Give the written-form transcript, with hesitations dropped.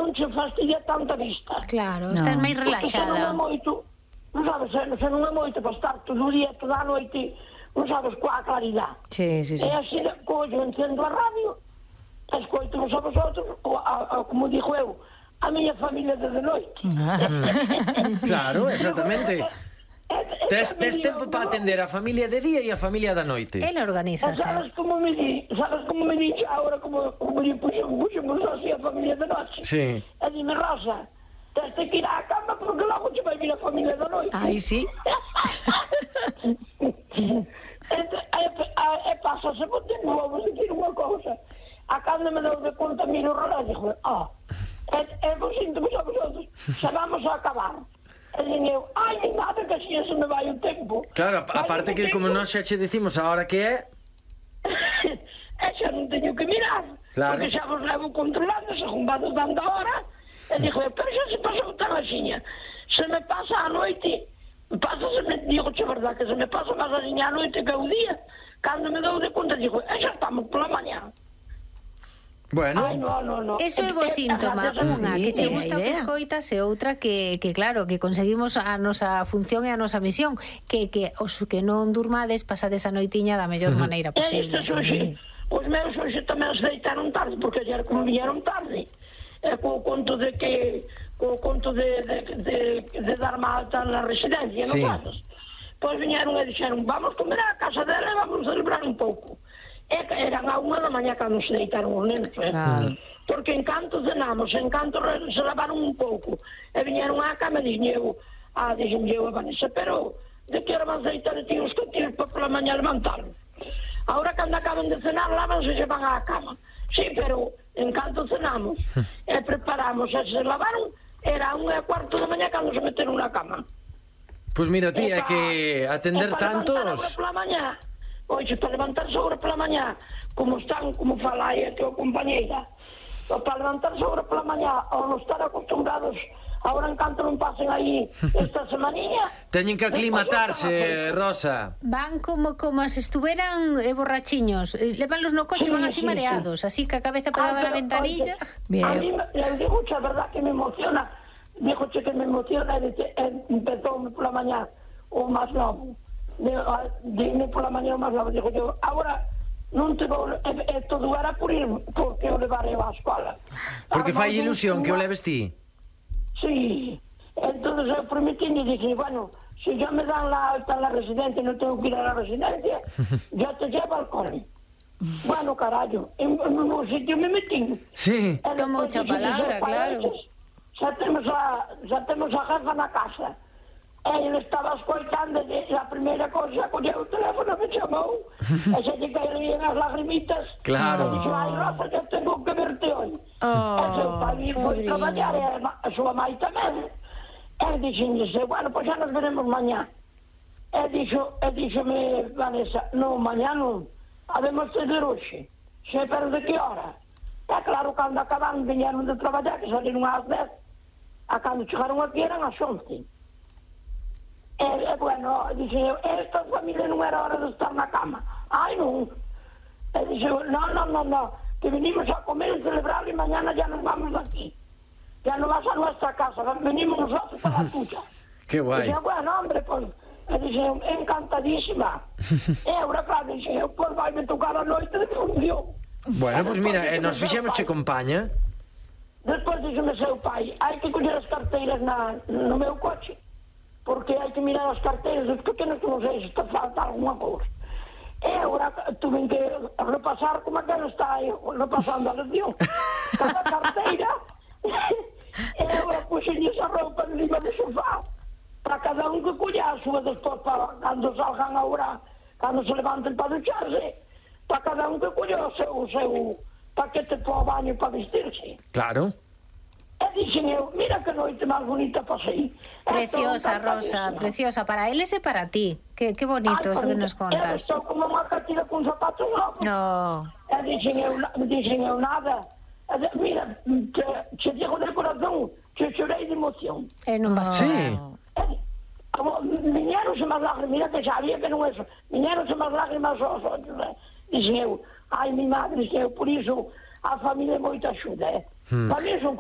non che fastidia tanta vista. Claro, estás máis relaxada. Non sabes, se non é moito para estar todo o día, toda a noite, non sabes, coa claridade. Sí. E así, collo, encendo a radio, escoito-vos a vosotros, como dixo eu, a miña familia de noite. Claro, exactamente. Tes tempo para atender a familia de día e a familia da noite. Ele organiza, sabes como me di agora, como lle puxemos así a familia de noite? Sí. E dime, Rosa, tens que ir á cama porque logo te vai vir a familia da noite. Ai, sí. E pásase por tempo, vamos decir unha cousa. A cando me dou de conta, miro o relógio, e vos sinto-vos a vosotros, xa vamos a acabar. E dixen eu, ai, nada, que así se me vai o tempo. Claro, aparte que como nós xa che decimos a hora que é... E xa non teño que mirar, porque xa vos levo controlando, según vades dando a hora. E dixo, pero xa se pasou tan axiña. Se me pasa a noite, digo, che verdad, que se me pasa máis axiña a noite que o día. Cando me dou de conta, digo, xa estamos pola mañá. Bueno, ai, no. Eso é bo síntoma, unha que che gusta o que escoitas e outra que claro, que conseguimos a nosa función e a nosa misión, que os que non durmades pasades a noitiña da mellor maneira posible. Os meus hoxe tamén se deitaron tarde, porque ayer como viñeron tarde, co conto de dar alta na residencia, non sabes? Pois viñeron e dixeron, vamos comer a casa dela e vamos celebrar un pouco. E eran a 1 da mañá cando se deitaron os nenos, porque en canto cenamos, en canto se lavaron un pouco, e viñeron á cama e dixen eu a Vanessa, pero de que hora van a deitar e tíos que tíos para pola mañá levantarnos? Ahora cando acaban de cenar, lavanse e se van á cama. Sí, pero en canto cenamos e preparamos e se lavaron, era 1:15 da mañá cando se meteron na cama. Pois mira, tía, que atender tantos... Oxe, para levantarse agora pola mañá, como fala aí a tua compañeira, para levantarse agora pola mañá, ao non estar acostumbrados, agora en canto non pasen aí esta semaninha... Teñen que aclimatarse, Rosa. Van como se estuveran borrachiños, levanlos no coche, van así mareados, así que a cabeza pegada a la ventanilla. A mí, le digo, a verdad que me emociona, dígoche que me emociona, empezou pola mañá o máis novo. Dime pola mañá máis logo, digo eu, agora non te vou, todo era por ir, porque o levarei á escola. Porque fai ilusión que o leves ti? Sí, entonces eu prometí e dije, bueno, si ya me dan la alta en la residencia, no tengo que ir a la residencia, ya te llevo al cole. Bueno, carallo, en un sitio me metí. Sí. Toma mucha palabra, claro. Xa temos a jefa na casa. Ele estaba escoitando e a primeira cosa colleu o teléfono me chamou e xa lle caían as lagrimitas. Claro. E dixo, ai, Rosa, que tengo que verte hoy. E seu pai foi traballar e a súa mãe tamén. E dixense, bueno, pois xa nos veremos mañá. E dixome, Vanessa, non, mañá non, habemos de ver hoxe. Xe, pero de que hora? E claro, cando acaban, viñeron de traballar, que saliron ás 10, a cando chegaron aquí eran ás 11. Bueno, dixe eu, esta familia non era hora de estar na cama. Ai, non. E dixe eu, no, que venimos a comer e celebrar e mañana ya nos vamos aquí. Ya no vas a nuestra casa, venimos nosotros para la tuya. Que guai. Dixe, bueno, hombre, pues, dixe eu, encantadísima. E agora, claro, dixe eu, pues vai me tocar a noite de función. Bueno, pois mira, nos fixemos che compaña. Despois dixeme seu pai, hai que coller as carteiras no meu coche. Porque hai que mirar as carteiras dos pequenos que non sei se está falta alguma cousa. E agora tuve que repasar como que non está aí repasando a lección. Cada carteira e agora puxenlle esa roupa encima do sofá para cada un que colla a súa despois para cando salgan agora, cando se levanten para ducharse, para cada un que colla o seu paquete para o baño para vestirse. Claro. E dixen eu, mira que noite máis bonita pasei. Preciosa, Rosa, preciosa, para eles e para ti. Que bonito isto que nos contas. Estou como unha catira con zapatos novos. No. E dixen eu nada. Mira, che digo de corazón, che chorei de emoción. E non basta. Sí. Viñeronse máis lágrimas, mira que sabía que non é eso. Viñeronse máis lágrimas aos ollos. Dixen eu, ai, mi madre, dixen eu, por iso a familia é moita axuda, Para mí son